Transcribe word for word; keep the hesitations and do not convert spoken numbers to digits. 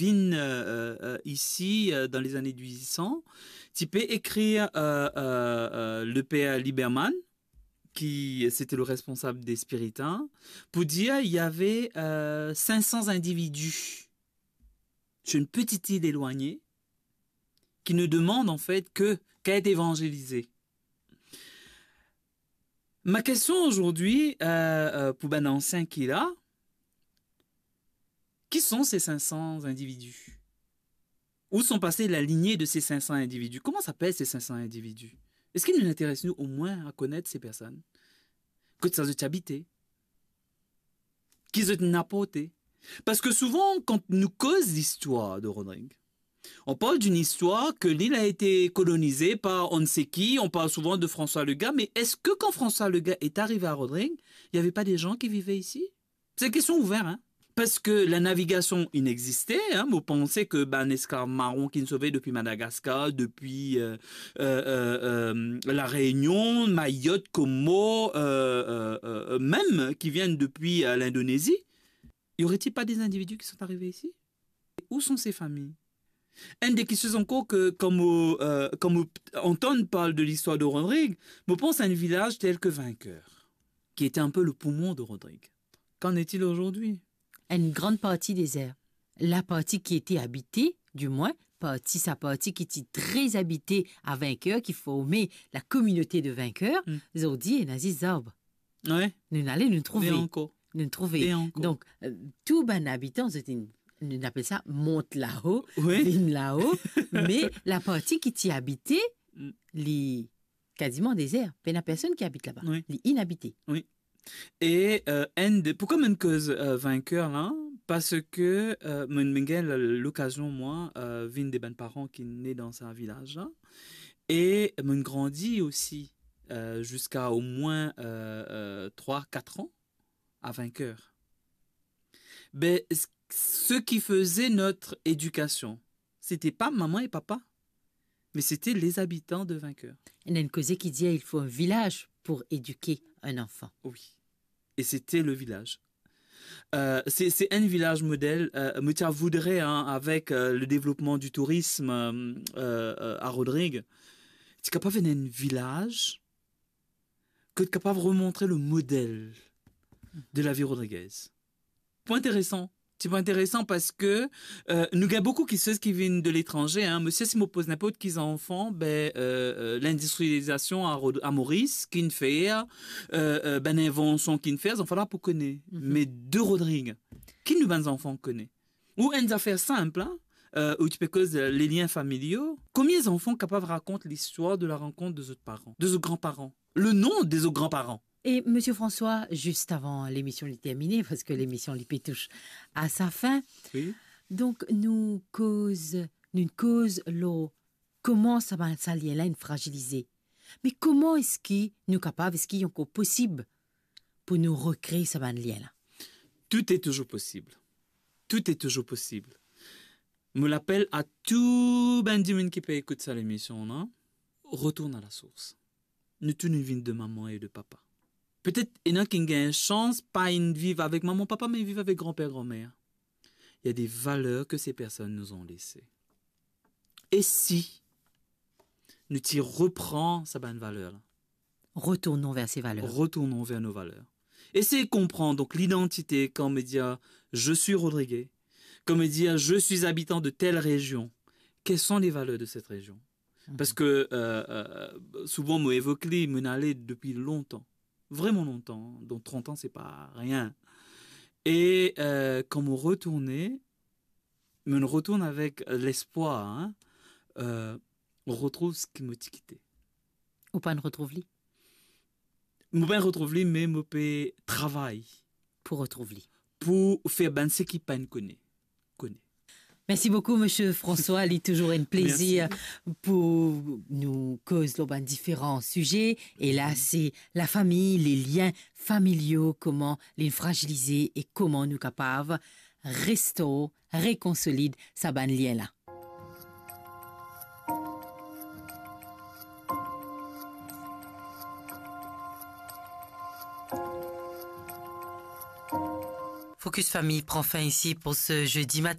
vinn, euh, euh, euh, isi, euh, dan lezane mil uit san, ti pe ekrir, euh, euh, euh, le père Liberman, ki sete le responsab de Spiritin, pou dir, il y avait, euh, cinq cents individus sur une petite île éloignée qui ne demandent en fait que, qu'à être évangélisés. Ma question aujourd'hui, euh, euh, pour bann ansien ki la, qui sont ces cinq cents individus ? Où sont passés la lignée de ces cinq cents individus ? Kouma s'apel ces cinq cents individus ? Eski nou interes nou omwin a konnet se personn ? Kot sa zot ti abite ? Ki zot inn aporte ? Parski souvan, kan nou koz listwar de Rodrig, on parle d'une histoire que l'île a été colonisée par on ne sait qui, on parle souvent de François Legat, mais est-ce que quand François Legat est arrivé à Rodrig, il y avait pas des gens qui vivaient ici ? C'est une question ouverte, hein. Parski la navigasion inn egziste, hein, mo panse ki bann esklav maron ki'nn sove depi Madagaskar, depi, euh, euh, euh, euh, La Réunion, Mayotte, Comores, euh, euh, euh, même qui viennent depuis, euh, l'Indonésie, y aurait-il pas des individus qui sont arrivés ici ? Où sont ces familles ? Enn de kestion ankor ki, kan mo, euh, kan mo antann parl de listwar de Rodrig, mo pans a enn vilaz tel ki Vainqueur, qui était un peu le poumon de Rodrig. Qu'en est-il aujourd'hui ? Enn gran parti dezer. La parti ki ete abite, dimwin, parti, sa parti ki ti tre abite a Vainqueur, ki forme la kominote de Vainqueur, Hmm. zordi ena zis zarb. Wi. Nou'nn ale, nou'nn trouve. E ankor. Nou'nn trouve. E ankor. Donk, euh, tou bann abitan, zot inn, nou apel sa mont lao, Wi. vinn lao, me la parti ki ti abite, Mm. li kaziman dezer. Pena personn ki abit laba. Wi. Li inabite. Wi. E, euh, enn de, poukwa mo'nn koz, euh, Vainqueur la ? Parski, euh, mo'nn, mo'nn gagn lokazion, mwa, euh, vinn de bann paran ki ne dan sa vilaz la. E mo'nn grandi osi, euh, ziska omwin, euh, euh, trwa, kat an a Vainqueur. Ben, s-, ceux qui faisaient notre éducation, c'était pas maman et papa, mais c'était les habitants de Vainqueur. Ena enn koze ki dir, il faut un village pour éduquer un enfant. Oui. Et c'était le village. Euh, c'est, c'est un village modèle. Euh, mo ti voudrais, hein, avec, euh, le développement du tourisme, euh, euh, euh, à Rodrigues, ti kapav ena enn vilaz kot kapav remontre le modèle de la vie rodriguez. Pwin interesan. Ti pwin interesan parski, euh, nou gagn boukou kiksoz ki vinn de letranze, hein. Mo sir, si mo poz ninport ki zanfan, ben, euh, euh, l'industrialisation à Rod-, à Maurice, ki'nn fer, euh, euh, bann invansion ki'nn fer, zanfan la pou kone. Mhm. Me de Rodrigues, ki nou bann zanfan kone ? Ou enn zafer sinp, hein, euh, ou ti pe koz, euh, les liens familiaux. Combien d'enfants capables raconter l'histoire de la rencontre de zot paran, de zot granparan, le nom de zot granparan ? E, Monsieur François, zis avan lemision li termine, parski lemision li pe tous a sa fin. Wi. Donk, nou koz, nou koz lor kouma sa, sa lien la inn frazilize. Me kouma eski nou kapav, eski li ankor posib pou nou rekre sa bann lien la? Tout est toujours possible. Tout est toujours possible. Mo lapel a tou bann dimoun ki pe ekout sa lemision la, retourn a la source. Nou tou nou vinn de maman e de papa. Petet ena ki'nn gagn sans pa inn viv avek maman, papa, me viv avek granper, granmer. Il y a des valeurs que ces personnes nous ont laissées. E si nou ti repran sa bann valer la? Retournons vers ces valeurs. Retournons vers nos valeurs. Essaye konpran, donk, lidantite, kan mo dir, je suis Rodriguais, kan mo dir, je suis habitant de telle région, quelles sont les valeurs de cette région? Mhm. Parski, euh, euh, souvan mo evok li, mo'nn ale depi lontan. Vreman lontan, donk trant an, se pa rien. E, euh, kan mo retourne, mo'nn retourn avek lespwar, hein, euh, retrouv seki mo ti kite. Ou pa'nn retrouv li? Mo pa'nn retrouv li, me mo pe travay pou retrouv li. Pou fer bann seki pa'nn kone, kone. Merci beaucoup, Monsieur François. Li touzour enn plezir pou nou koz lor bann diferan size. E la, se lafami, les liens familiaux, kouma li frazilize e kouma nou kapav restore, rekonsolid sa bann lien la. Focus Famille prend fin ici pour ce jeudi matin.